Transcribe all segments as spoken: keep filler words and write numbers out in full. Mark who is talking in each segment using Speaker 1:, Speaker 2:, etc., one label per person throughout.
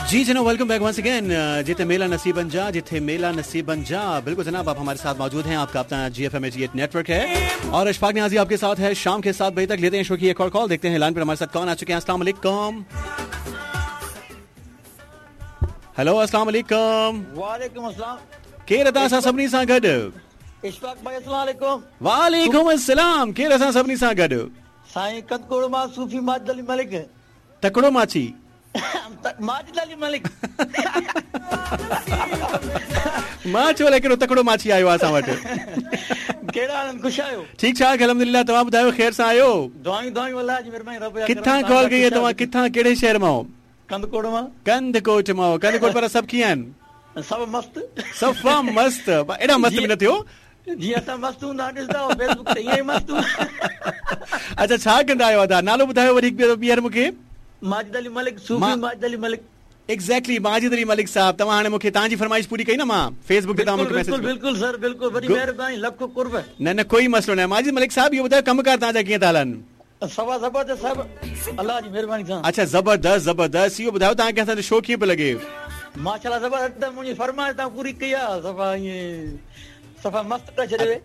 Speaker 1: जी जनाब, welcome back once again. जिथे मेला नसीबन जा, जिथे मेला नसीबन जा। बिल्कुल जनाब, आप हमारे साथ मौजूद हैं, आपका अपना G F M G eight network है और अशफाक नियाजी आपके साथ है शाम के सात बजे तक। लेते हैं शो की एक और कॉल, देखते हैं लाइन पर हमारे साथ कौन आ चुके हैं। अस्सलाम वालेकुम। हेलो, अस्सलाम वालेकुम।
Speaker 2: वालेकुम अस्सलाम।
Speaker 1: केरु असां सां सभिनी सां गॾु?
Speaker 2: इशफाक भाई, अस्सलाम वालेकुम।
Speaker 1: वालेकुम अस्सलाम। केरु असां सभिनी सां गॾु?
Speaker 2: साईं कंदकोड़ मां सूफी माजिद अली मलिक।
Speaker 1: तकड़ो माची
Speaker 2: माजिद अली मलिक।
Speaker 1: मां चयो अलाए कहिड़ो तकड़ो माची आयो आहे असां वटि।
Speaker 2: कहिड़ा आहिनि, ख़ुशि आहियो?
Speaker 1: ठीक ठाक अल्हम्दुलिल्लाह। तव्हां ॿुधायो, ख़ैर सां आहियो?
Speaker 2: दुआयूं दुआयूं अल्लाह जी महिरबानी, रब।
Speaker 1: किथां कॉल कई आहे तव्हां? किथां, कहिड़े शहर मां?
Speaker 2: कंदकोट मां।
Speaker 1: कंदकोट मां। कंदकोट पर सभु कीअं आहिनि?
Speaker 2: सभु मस्त,
Speaker 1: सफ़ा मस्त। एॾा मस्त बि न थियो
Speaker 2: जीअं असां मस्त हूंदा ॾिसंदा हो फेसबुक ते, ईअं ई मस्त।
Speaker 1: अच्छा, छा कंदा आहियो अदा? नालो ॿुधायो वरी हिकु ॿीहर मूंखे।
Speaker 2: माजिद अली मलिक, सूफी माजिद अली मलिक।
Speaker 1: एग्जैक्टली, माजिद अली मलिक साहब। तव्हां हाणे मूंखे तव्हांजी फरमाइश पूरी कई न मां फेसबुक ते, तव्हां मूंखे मैसेज।
Speaker 2: बिल्कुल बिल्कुल सर, बिल्कुल, वॾी महिरबानी, लख कुर्ब।
Speaker 1: न न, कोई मसइलो न आहे। माजिद मलिक साहब, इहो ॿुधायो कम कार तव्हांजा कीअं था हलनि?
Speaker 2: सवा ज़बरदस्त साहब, अल्लाह जी महिरबानी सां।
Speaker 1: अच्छा, ज़बरदस्त ज़बरदस्त। इहो ॿुधायो तव्हांखे असांजो शो कीअं पियो लॻे?
Speaker 2: माशाअल्लाह ज़बरदस्त। मुंहिंजी फरमाइश तव्हां पूरी कई आहे, सफ़ा ईअं सफ़ा मस्त करे छॾियो।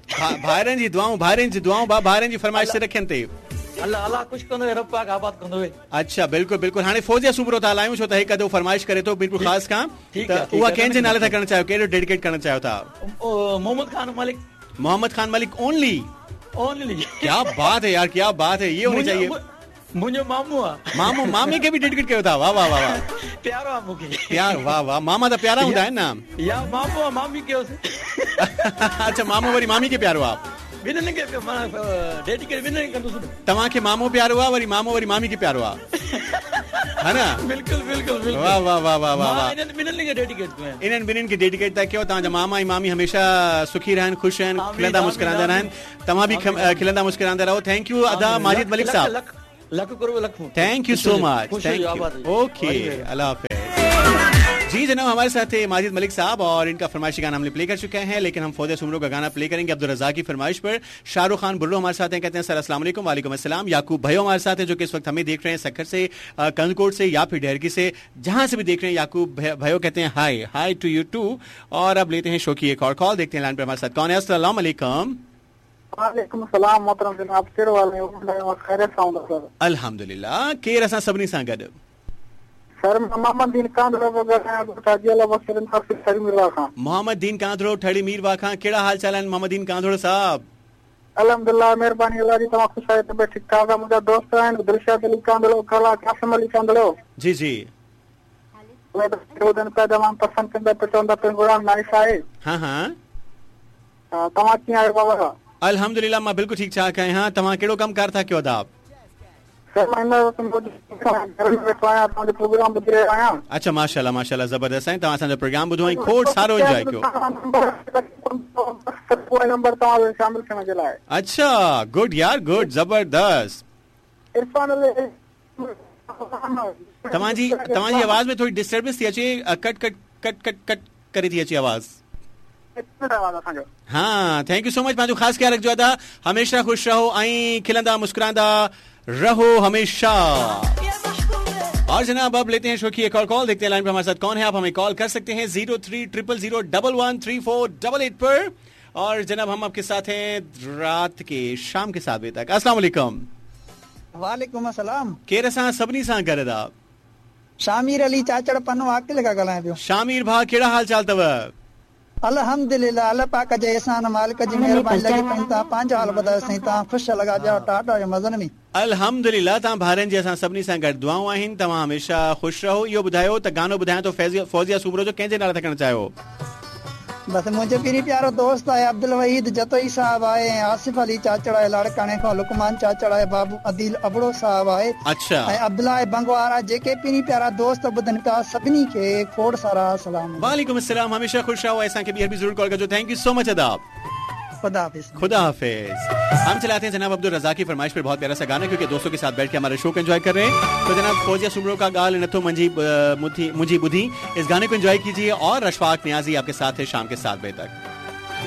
Speaker 1: भाइरनि जी दुआऊं, भाइरनि जी दुआऊं, बा भाइरनि जी फरमाइश ते रखनि ते।
Speaker 2: अल्लाह अल्लाह ख़ुशि कंदो, रब पाक आबाद कंदो।
Speaker 1: अच्छा, बिल्कुल बिल्कुल। हाणे फौजिया सूमरो था हलायूं, छो त हिकु अधो फरमाइश करे थो बिल्कुल ख़ासि खां, त उहा कंहिंजे नाले था करणु चाहियो, कहिड़ो डेडिकेट करणु चाहियो था?
Speaker 2: मोहम्मद खान मलिक।
Speaker 1: मोहम्मद खान मलिक ओनली?
Speaker 2: ओनली।
Speaker 1: क्या बात है यार, क्या बात है, ये होनी चाहिए।
Speaker 2: मुंहिंजो मामू आहे।
Speaker 1: मामू, मामे खे बि डेडिकेट कयो था? वाह वाह वाह वाह,
Speaker 2: प्यारो आहे मूंखे।
Speaker 1: प्यार, वाह वाह, मामा त प्यारा हूंदा आहिनि न।
Speaker 2: या मामू आहे, मामी कयोसि।
Speaker 1: अच्छा, मामू वरी मामी खे प्यारो आहे?
Speaker 2: ॿिन्हिनि खे डेडिकेट ॿिन्हिनि खे कंदुसि।
Speaker 1: तव्हांखे मामो प्यारो आहे, वरी मामो वरी मामी खे प्यारो आहे, है न?
Speaker 2: बिल्कुल बिल्कुल बिल्कुल।
Speaker 1: वाह वाह वाह वाह वाह वाह।
Speaker 2: इन्हनि ॿिन्हिनि खे डेडिकेट कयो,
Speaker 1: इन्हनि ॿिन्हिनि खे डेडिकेट था कयो। तव्हांजा मामा ऐं मामी हमेशा सुखी रहनि, ख़ुशि रहनि, खिलंदा मुस्कुरांदा रहनि। तव्हां बि खिलंदा मुस्कुरांदा रहो। Thank you अदा माजिद मलिक साहब।
Speaker 2: लख कुर्ब, लख।
Speaker 1: Thank you so much, thank you. Okay, अल्लाह हाफिज़। जी जनाब, हमारे साथ थे माजिद मलिक साहब और इनका फरमाइशी गाना हमने प्ले कर चुके हैं, लेकिन हम फौजिया सूमरो का गाना प्ले करेंगे अब्दुल रज़ाक की फरमाइश पर। शाहरुख खान बुर्रो हमारे साथ हैं, कहते हैं सर अस्सलाम वालेकुम। वालेकुम अस्सलाम। याकूब भाई हमारे साथ हैं जो कि इस वक्त हमें देख रहे हैं सक्खर से, कंदकोट से या फिर ढेरकी से, जहां से भी देख रहे हैं। याकूब भाइयों कहते हैं hi, hi to you too. और अब लेते हैं शो की एक और कॉल, देखते हैं लाइन पर हमारे साथ कौन है। अस्सलाम वालेकुम।
Speaker 3: वालेकुम सलाम मोहतरम जनाब, कहिड़ो हाल आहे? ख़ैर सां हूंदा सर?
Speaker 1: अल्हम्दुलिल्लाह। केरु असां सभिनी सां गॾु?
Speaker 3: सर मोहम्मद दीन कांधड़ो पियो ॻाल्हायां, हाजी अल्लाह बख़्श ठड़ी मीरवाह खां।
Speaker 1: मोहम्मद दीन कांधड़ो ठड़ी मीरवाह खां। कहिड़ा हाल चाल आहिनि मोहम्मद दीन कांधड़ो साहब?
Speaker 3: अल्हम्दुलिल्लाह, महिरबानी अल्लाह जी, तव्हां ख़ुशि आहियो? तबियत ठीक ठाक आहे? मुंहिंजा दोस्त आहिनि दिलशाद अली कांधड़ो, कला कासिम अली कांधड़ो।
Speaker 1: जी जी,
Speaker 3: उहे ॿुधनि पिया, तमामु पसंदि कंदा पिया, चवंदा प्रोग्राम नाइस आहे।
Speaker 1: हा हा,
Speaker 3: तव्हां कीअं आहियो बाबा?
Speaker 1: अल्हम्दुलिल्लाह, मां बिल्कुलु ठीक ठाक आहियां। तव्हां कहिड़ो कमु कार था कयो अदा?
Speaker 3: सर मां हिन वक़्तु घर में वेठो आहियां, तव्हांजो प्रोग्राम ॿुधी रहियो आहियां।
Speaker 1: अच्छा, माशाअल्लाह माशाअल्लाह, ज़बरदस्त आहे। तव्हां असांजो प्रोग्राम ॿुधो ऐं खोड़ सारो एंजॉय कयो।
Speaker 3: नंबर तव्हांजो शामिल थियण जे लाइ।
Speaker 1: अच्छा, गुड यार, गुड, ज़बरदस्त।
Speaker 3: इरफान अली,
Speaker 1: तव्हांजी तव्हांजी आवाज़ में थोरी डिस्टर्बेंस थी अचे, cut cut cut cut cut करे थी अचे आवाज़। हाँ, thank you so much. पंहिंजो ख़ासि ख़्यालु रखिजो अदा, हमेशा ख़ुशि रहो ऐं खिलंदा मुस्कुरांदा रहो हमेशा। और जनाब अब लेते हैं शो की एक और कॉल, देखते हैं लाइन पर हमारे साथ कौन है। आप हमें कॉल कर सकते हैं zero three triple zero double one three four double eight पर। और जनाब हम आपके साथ हैं रात के शाम के सात बजे तक। अस्सलाम वालेकुम।
Speaker 4: वालेकुम अस्सलाम।
Speaker 1: केरु असां सभिनी सां गॾु अदा?
Speaker 4: शामीर अली चाचड़ पन्नो आकिल खां ॻाल्हायां पियो।
Speaker 1: शामीर भाउ, कहिड़ा हाल चाल अथव?
Speaker 4: अल्हम्दुलिल्लाह, अल्लाह पाक जे एहसान, मालिक जी मेहरबानी लॻी पई। तव्हां पंहिंजो हाल ॿुधायो साईं, तव्हां ख़ुशि लॻा पिया टाटा जो मज़नि में?
Speaker 1: अल्हम्दुलिल्लाह, तव्हां भाइरनि जी असां सभिनी सां गॾु दुआऊं आहिनि, तव्हां हमेशा ख़ुशि रहो। इहो ॿुधायो त गानो ॿुधायां थो फौजिया सूमरो जो, कंहिंजे नाले था करणु चाहियो?
Speaker 4: बसि मुंहिंजो पहिरीं प्यारो दोस्त आहे अब्दुल वहीद जतोई साहब आहे, ऐं आसिफ अली चाचड़ आहे लाड़काणे खां, लुकमान चाचड़ आहे, बाबू अदील अबड़ो साहब आहे,
Speaker 1: अच्छा,
Speaker 4: ऐं अब्दुल्ला बंगवार आहे। जेके पहिरीं प्यारा दोस्त ॿुधनि पिया सभिनी खे खोड़ सारा सलाम।
Speaker 1: वालेकुम अस्सलाम। हमेशा ख़ुशि रहो, असांखे ॿीहर बि ज़रूर कॉल कजो। Thank you so much अदा।
Speaker 4: खुदा हाफिज।
Speaker 1: खुदा हाफिज। हम चलाते हैं जनाब अब्दुल रज़ाक की फरमाइश पर बहुत प्यारा सा गाना, क्योंकि दोस्तों के साथ बैठ के हमारे शो को एंजॉय कर रहे हैं। तो जनाब फौजिया सूमरो का गाल नथो मंजी मुझी बुधी, इस गाने को एंजॉय कीजिए। और अशफाक नियाजी आपके साथ है शाम के सात बजे तक।